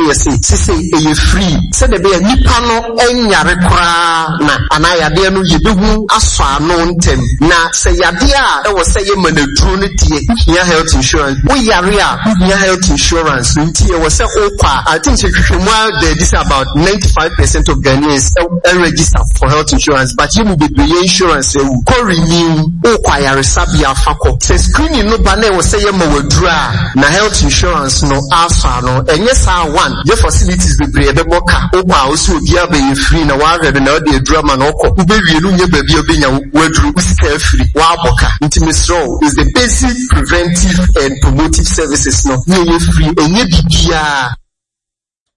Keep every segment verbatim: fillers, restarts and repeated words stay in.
ne yɛse sesei ɛyɛ free sɛdeɛ ɛbɛyɛ nipa no ɛnyare koraa na anaa yadeɛ no yɛbɛhu asɔ ano ntɛm. Na sɛ yadeɛ a ɛwɔ sɛ yɛma no aduro no deɛ, wohia health insurance. Woyare a, wohia health insurance. Nti ɛwɔ sɛ wokɔ a, I think sɛ hwehwɛmu a da adi sɛ about ninety five percent of Ghanaians register for health insurance, but yɛ mu bebree yɛ insurance awu. Kɔ renew, wokɔ ayaresabea fa kɔ. Sɛ screening no ba na ɛwɔ sɛ yɛma wo aduro a, na health insurance no asɔ ano. Ɛnyɛ saa one, yɛ facilities bebree ɛbɛbɔ ka. Wokɔ a, wo sɛ obiara bɛyɛ free na wahwɛ no na ɔde aduro ama no ɔkɔ. Wobɛwie no, wonyɛ baabi a wobɛnya w'aduro, wo sika afiri, woabɔ ka. Nti mesrɛ wo, is the basic preventive and promotive services no ne ɛyɛ free, ɛnyɛ biribiara.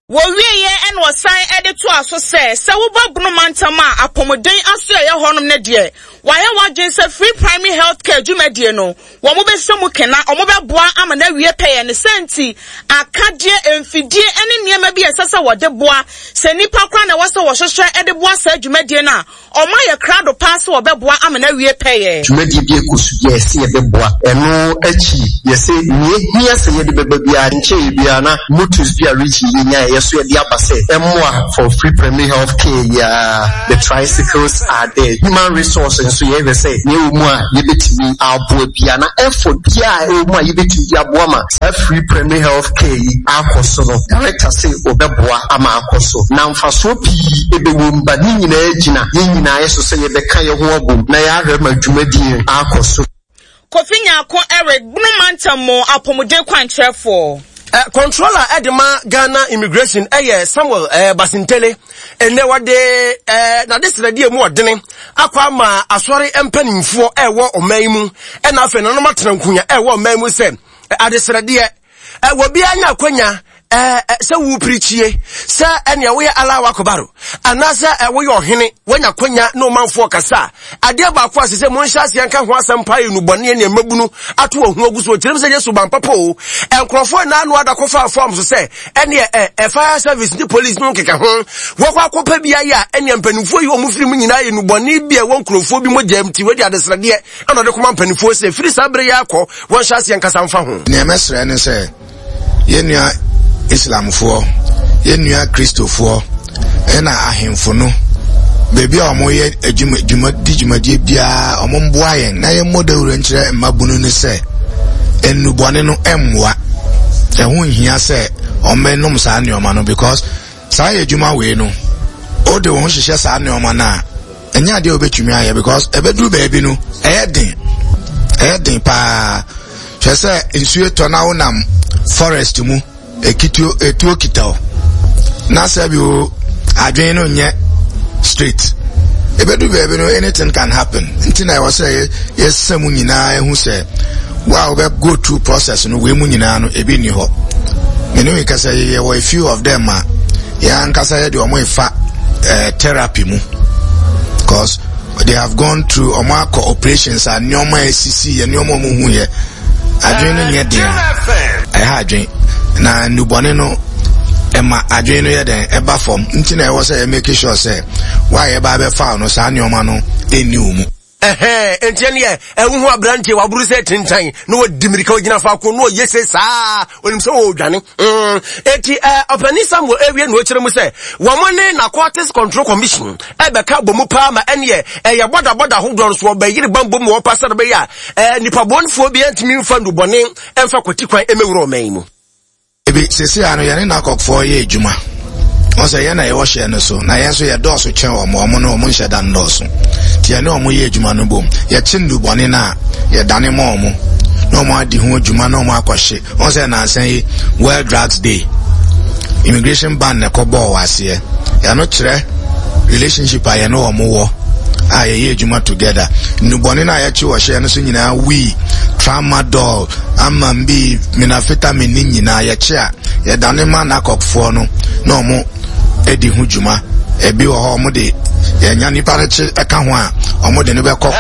Wɔwieeɛ na ɔsan de toaa so sɛ, sɛ woba Bono mantam a apɔmuden asoɛeɛ hɔnom no deɛ, wɔayɛ wɔn adwene sɛ Free Primary Health Care dwumadie no, wɔbɛhyɛ mu kena, wɔbɛboa ama no awie pɛyɛ. Ne saa nti, akadeɛ, mfidie ne nneɛma bi a ɛsɛ sɛ wɔde boa, sɛ nnipa koraa na ɛwɔ sɛ wɔhwehwɛ de boa saa dwumadie no a, Wɔayɛ krado paa sɛ wɔbɛboa ama no awie pɛyɛ. Dwumadie bi rekɔ so bi a yɛse yɛbɛboa. Ɛno akyi yɛse nea ɛhia sɛ yɛde bɛba biara nkyɛeɛ biara na motos bi a region yi nyaeɛ yɛso yɛde aba sɛ ɛmmoa for free primary health care yi ara. The tricycles are there. Human resource nso yɛhwɛ sɛ nea ɛwɔ mu a yɛbɛtumi aboa biara na effort biara a ɛwɔ mu a yɛbɛtumi de aboa ma saa free primary health care yi akɔ so no, Director se wɔbɛboa ama akɔ so na mfasoɔ pii bɛwɔ mu, but ne nyinaa gyina yɛn nyinaa yɛ so sɛ yɛbɛka yɛn ho abom na yɛahwɛ ma dwumadie no akɔ so. Kofi Nyarko Eric, Bono Mantam mu Apɔmuden Kwankyerɛfoɔ. Eh, controller de ma Ghana Immigration ɛyɛ Samuel eh, Basintale. Ɛnɛ wɔde eh, n'adesrɛdeɛ mu ɔdene akɔ ama asɔre mpanimfoɔ ɛwɔ ɔman yi mu, ɛna afei nanom atena nkunya ɛwɔ ɔman mu sɛ adesrɛdeɛ wɔ biara nya akwanya sɛ wopirikyie sɛ ɛnea woyɛ Allahu Akbar anaasɛ woyɛ ɔhene woanya kwanya ne ɔmanfoɔ kasa a, adeɛ baako a sɛ sɛ monhyɛ aseɛ nka ho asɛm paa yɛ nubɔne ne mmabunu ato wɔn ho agu so. Ɔkyerɛm sɛ nyɛ suban papa o. Nkurɔfoɔ naa no ada kɔfa fam so sɛ ɛneɛ ɛ fire service ne police no nkeka ho wɔkɔ akɔpɛ bi ayɛ a, ɛneɛ mpanimfoɔ yi wɔn firi mu nyinaa yɛ nubɔne bi a ɛwɔ nkurɔfoɔ bi mogya mu, ti wɔde adesrɛdeɛ ɛna ɔde kɔma mpanimfoɔ sɛ firi saa berɛ yi akɔ wɔnhyɛ aseɛ nkasa mfa ho. Nea mɛsrɛ ne sɛ yɛn nua Islamfoɔ, yɛn nua Kristofoɔ, ɛna ahemfo no, baabi a wɔyɛ adwuma dwuma di dwumadie biara, wɔn mboa yɛn na yɛn mmɔ dawuro nkyerɛ mmabunu no sɛ nnubɔne no mmoa. Ɛho nhia sɛ wɔn bɛnom saa nneɛma no, because saa yɛ adwuma wei no, wode wo ho hyehyɛ saa nneɛma no a, ɛnyɛ adeɛ a wobɛtumi ayɛ, because ɛbɛduru baabi no ɛyɛ den, ɛyɛ den paa. Hwɛ sɛ nsuo tɔ na wonam forest mu, ekituo etuo kita o, na sɛ bi o adwene no nyɛ straight, ɛbɛduru baabi no anything can happen. Nti na ɛwɔ sɛ yɛsɛ mu nyinaa ehu sɛ wo a wobɛ go through process no wei mu nyinaa no ebi nni hɔ. Mene wi kasa yɛwɔ a few of them a yɛn ankasa yɛde wɔn efa eh, therapy mu, cause they have gone through, wɔn akɔ operations a nneɛma a esisi yɛ, nneɛma a wɔn hu yɛ, adwene no nyɛ den a ɛha adwene na nnubɔne no ɛma adwene no yɛ den ɛba fam. Nti na ɛwɔ sɛ yɛ make sure sɛ wa a yɛba abɛfa no saa nneɛma no ɛnni wɔn mu. Ɛhɛn, enti ɛneɛ ɛwohu aberanteɛ waboro sɛ tentan na wɔdi mirika ɔgyina faako na ɔyɛ se saa, onim sɛ ɔredwane. mm. Enti ɔpani Samuel ewie na ɔkyerɛ mu sɛ wɔn ne Narcotics Control Commission ɛbɛka bɔ mu paa ma ɛneɛ ɛyɛ bɔdabɔda ahodoɔ no so ɔbɛyere bambɔ mu wɔpa sɛ bɛyɛ a nipa bɔnfoɔ bi ɛntumi mfa nnubɔne ɛmfa kwati kwan ɛmɛwura ɔman yi mu. Ebi sisi ano yɛne NACOCfoɔ yɛ adwuma. Wɔn sɛ yɛn na yɛwɔ hyɛn no so, na yɛn nso yɛdɔɔso kyɛn wɔn, wɔn no wɔn nhyɛ da nnɔɔso. Nti yɛne wɔn yɛ adwuma no bom. Yɛkye nnubɔne no a, yɛdane ma wɔn na wɔn adi ho adwuma na wɔn akɔhye. Wɔn sɛ nansa yi World Drugs Day, immigration ban na ɛkɔ bɔɔ wɔ aseɛ. Yɛno kyerɛ relationship a yɛne wɔn wɔ a yɛyɛ adwuma together. Nnubɔne no a yɛkye wɔ hyɛn no so nyinaa, wii, tramadol, amambi, methamphetamine ne nyinaa, yɛkye a yɛdane ma NACOCfoɔ no na ɔmo adi ho dwuma. Ebi wɔ hɔ ɔmo de yɛnya nipa no kye ɛka ho a, ɔmo de no bɛkɔ court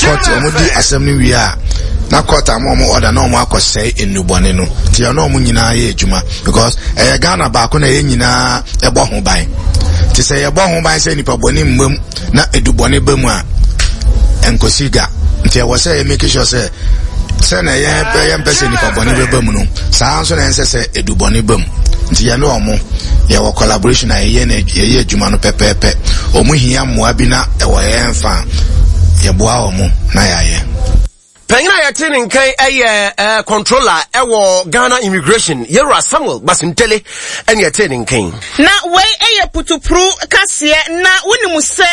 court ɔmo di asɛm no wie a, na court ama ɔmo order na ɔmo akɔsɛe nnubɔne no. Nti ɛno ɔmo nyinaa yɛ adwuma, because ɛyɛ Ghana baako na yɛn nyinaa ɛbɔ ho ban. Nti sɛ yɛbɔ ho ban sɛ nipa bɔne mmam na edubɔne ba mu a, nkosi ga. Nti ɛwɔ sɛ yɛ make sure sɛ sɛ na yɛn yɛn mpɛ sɛ nipa bɔne bɛba mu no, saa nso na yɛn sɛ sɛ edubɔne ba mu. Nti yɛne ɔmo yɛwɔ collaboration a yɛyɛ no, yɛyɛ adwuma no pɛpɛɛpɛ. Ɔmo hia mmoa bi na ɛwɔ yɛn fa a, yɛboa ɔmo na yɛayɛ. Panyin a yɛte ne nkan ɛyɛ ɛɛ controller ɛwɔ Ghana Immigration, Yɛwura Samuel Basintale, ɛne yɛte ne nkan. Na wei ɛyɛ putupuru kaseɛ. Na wonim sɛ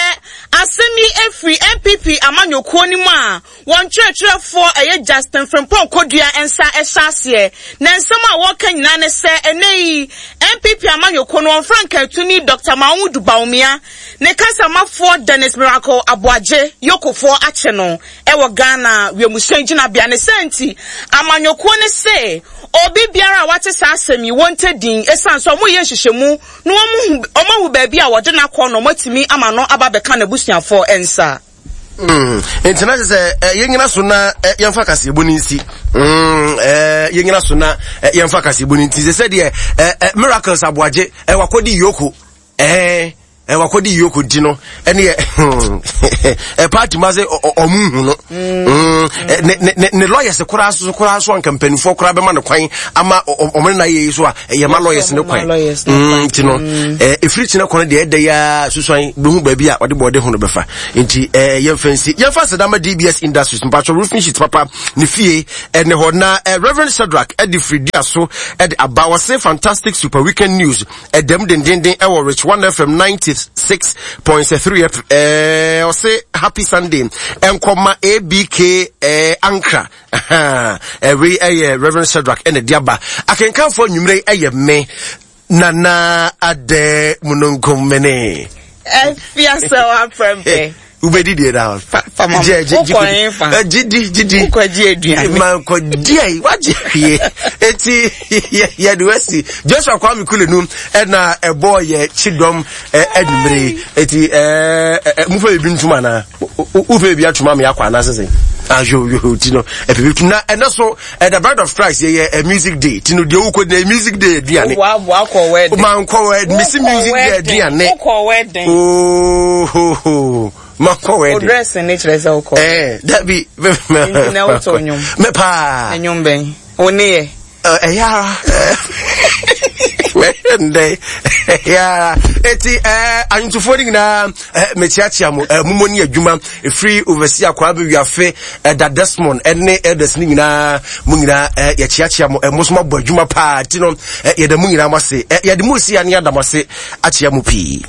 asɛm yi efiri N P P amanyɔkuo no mu a wɔn kyerɛkyerɛfoɔ ɛyɛ Justin Frimpong Kodua nsa ɛhyɛ aseɛ, na nsɛm a wɔreka nyinaa ne sɛ ɛnɛ yi N P P amanyɔkuo no wɔn frankaatuni Doctor Mahamudu Bawumia ne kasamafoɔ Dennis Miracle Aboagye, yokofoɔ akye no ɛwɔ Ghana wiemhyɛn gyinabea. Ne sɛ nti amanyɔkuo ne se obi biara a wate saa asɛm yi wɔntɛ din, ɛsiane sɛ ɔmo yɛ nhyehyɛmu na wɔn ahu baabi a wɔde n'akɔ na wɔn atumi ama no aba bɛka n'abusuafoɔ nsa. Mm. Nti na kyerɛ sɛ yɛnyina so na yɛmfa kaseɛbɔ no nsi, yɛnyina so na yɛmfa kaseɛbɔ no nti sɛ sɛdeɛ Miracles Aboagye wakɔdi yoko ɛɛ wakɔdi yoko nti no, ɛne ɛ party ma sɛ ɔmo hu no ne ne lawyers koraa so koraa so, anka mpanimfoɔ koraa bɛma no kwan ama ɔmo ne na yɛ yi so a, ɛyɛ ma lawyers ne kwan. Nti no ɛfiri kyina kwan deɛ, ɛda ya susuan bɛhu baabi a ɔde bɔɔde ho no bɛfa. Nti yɛmfa nsi, yɛmfa sedama D B S Industries mpatwɔ roofing sheet papa ne fie ɛne hɔ. Na Reverend Shadrach ɛde firi dua so ɛde aba, wɔse fantastic super weekend news ɛdɛm dendenden ɛwɔ Rich One F M ninety six point three. ɛɛ ɔse happy Sunday ɛnkɔma A B K ɛɛ Ankra. Ɛwei ɛyɛ Reverend Shadrach ɛna de aba. Akenkanfoɔ nnwumire ɛyɛ me Nana Adɛ Mununkum mene. Ɛfia sɛ wafrɛ. Wobɛdi deɛ da. Gidi gidi. Wokɔgye aduane. Mankɔdi ayi wagye hwie. Eti yɛde wasi Joshua Kwame Kulenu ɛna ɛbɔɔ yɛ kyidɔm anwummere. Eti ɛɛ mufa biribi ntum anaa wofɛ biribi atum ama yɛakɔ anaa sese ayo yo ti no ɛpɛ bi tum. Na ɛnɛ so the Bride of Christ yɛyɛ music day ti no deɛ wokɔ di music day aduane. Wakɔ wedding. Mankɔ wedding, mesi music day aduane. Wokɔ wedding. Ooo, makɔ wedding. O dress ne kyerɛ sɛ wokɔ. Ɛɛ dabi. Nti na wotɔ nnwom. Mɛ paa. Nnwom bɛn wo ne yɛ? Ɛyɛ ara ndɛ, ɛyɛ ara. Eti ɛɛ anwontofoɔ no nyinaa, ɛɛ mekyiakyia mo, ɛɛ momɔ ne adwuma efiri overseer Kwame Wiafe, ɛda Desmond ɛne elders ne nyinaa, mo nyinaa ɛɛ yɛkyiakyia mo. Ɛɛ mo nso mo abɔ adwuma paa. Ti no ɛɛ yɛda mo nyinaa mo ase. Ɛɛ yɛde mo si ani ada mo ase akyia mo pii.